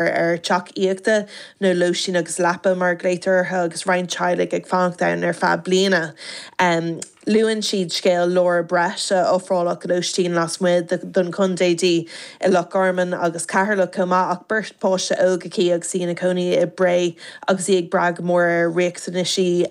Ar teach aíochta nó lóistín agus leapa mar a ghlaotar orthu agus roinnt teaghlaigh ag fanacht ann ar feadh bliana. Luann siad scéal Laura Brett a ofráladh lóistín lasmuigh den chontae di i Loch Garman agus Ceatharlach chomh maith ach beirt pháiste óg aici agus í ina cónaí i mBré agus í ag brath go mór ar riachtanaisí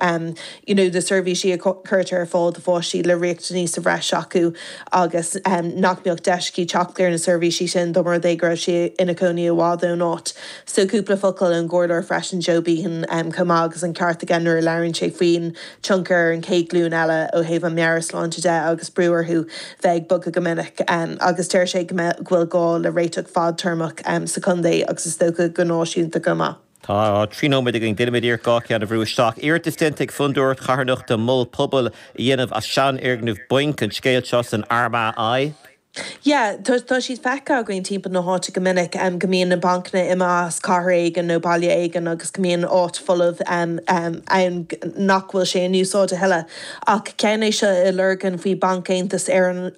you know na seirbhísí a chuirtear ar fáil do pháistí le riachtanaí sa bhreis acu agus nach mbeadh deis aici teacht ar na seirbhísí sin dá mba rud é go raibh sí ina cónaí i bhfad ón áit. So cúpla focal ón gcomhairleoir freisin Joe Behan chomh maith agus an ceart aige nuair a labhraíonn sé faoin tionchar ar an chéad ghlúin eile ó thaobh an meabhairshláinte de agus brú orthu bheith ag bogadh go minic agus deir sé go mbeadh go bhfuil gá le réiteach fadtéarmach sa chontae agus is dócha go náisiúnta chomh maith. Tá 3 nóiméad againn, déanfaimid iarracht 2 cheann a bhrú isteach. Iarratas déanta ag Fondúireacht Charthanachta mol pobail a dhéanamh as seanfhoirgneamh bainc, an scéal seo san Armagh Eye. Yeah, tá tá siad feicthe againn timpeall na háite go minic, go mbíonn na bancanna imithe as cathair éigin nó baile éigin agus go mbíonn áit folamh ann nach bhfuil sé in úsáid a thuilleadh. Ach ceann é seo i Lurgan faoi Banc Aontas Éireann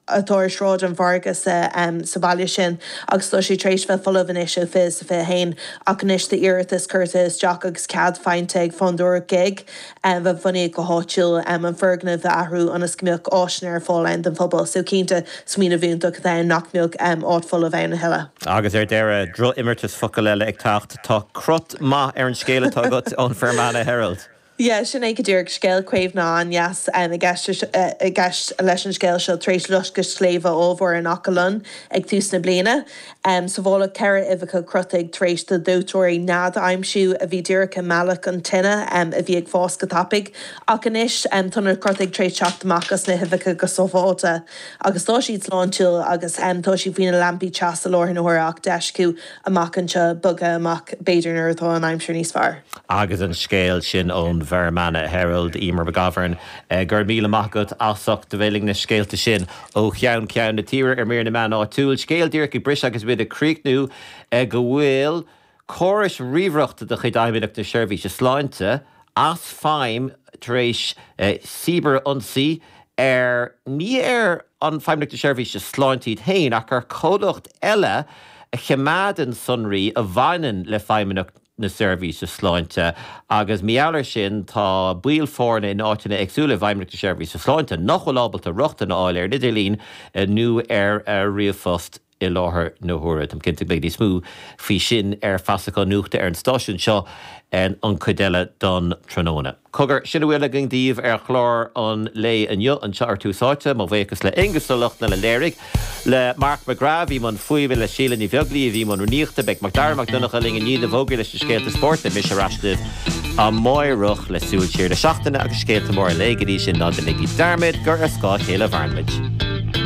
atá ar Shráid an Mhargaidh sa sa bhaile sin agus tá sé tar éis bheith folamh anois ó 2021 ach anois tá iarratas curtha isteach agus cead faighte ag Fondúireacht GIG a bunaíodh go háitiúil an foirgneamh a athrú ionas go mbeadh áiseanna ar fáil ann don phobal. So cinnte smaoineamh iontach atá ann nach mbeadh áit folamh ann a thuilleadh. Agus ar deireadh, droch-imeartas focal eile ag teacht. Tá crot maith ar an scéal atá agat ón Fermanagh Herald. Yeah, sin é go díreach. Scéal caomhnaithe an-deas i gceist i gceist leis an scéal seo tar éis loisceadh sléibhe ollmhór in Achadh Lon ag tús na bliana. Sábháladh 4 uibheacha crotaigh tar éis do dóiteoirí nead a aimsiú a bhí díreach i mbealach an tine a bhí ag fás go tapaidh. Ach anois tá na crotaigh tar éis teacht amach as na huibheacha go sábháilte agus tá siad sláintiúil agus tá siad faoi na lampaí teasa i láthair na huaire ach deis acu amach anseo, bogadh amach, b'fhéidir nuair atá an aimsir níos fearr. Agus an scéal sin ón Fermanagh Herald, Emer McGovern, go raibh míle maith agat as ucht a bheith linn na scéalta sin ó cheann ceann na tíre ar mír na meán áitiúil. Scéal díreach ag briseadh agus muid ag críochnú go bhfuil córais ríomhaireachta de chuid Fheidhmeannacht na Seirbhíse Sláinte as feidhm tar éis cibear-ionsaí ar, ní ar an Feidhmeannacht na Seirbhíse Sláinte iad féin, ach ar chomhlacht eile a choimeádann sonraí a bhaineann le Feidhmeannacht na Seirbhíse Sláinte agus mar gheall air sin tá baill foirne in áiteanna éagsúla i bhFeidhmeannacht na Seirbhíse Sláinte nach bhfuil ábalta rochtain a fháil ar an idirlíon nó ar ríomhphost. i láthair na huaire. Táim cinnte go mbeidh níos mó faoi sin ar Feasachán Nuachta ar an stáisiún seo an chuid eile don tráthnóna. Cogar, sin a bhfuil againn daoibh ar chlár an lae inniu anseo ar Tús Áite. Mo bhuíochas le Aonghus Ó Lochlainn a léirigh, le Mark McGrath a bhí i mbun fuaime, le Síle Ní Bheaglaoí a bhí i mbun rúnaíochta. Beidh Macdara Mac Donncha linn i ndiaidh na bhfógraí leis na scéalta spóirt. Beidh mise ar ais libh amáireach le súil siar na seachtaine agus scéalta móra an lae. Go dtí sin, ná déanaigí dearmad gur ar scáth a chéile a mhaireann muid.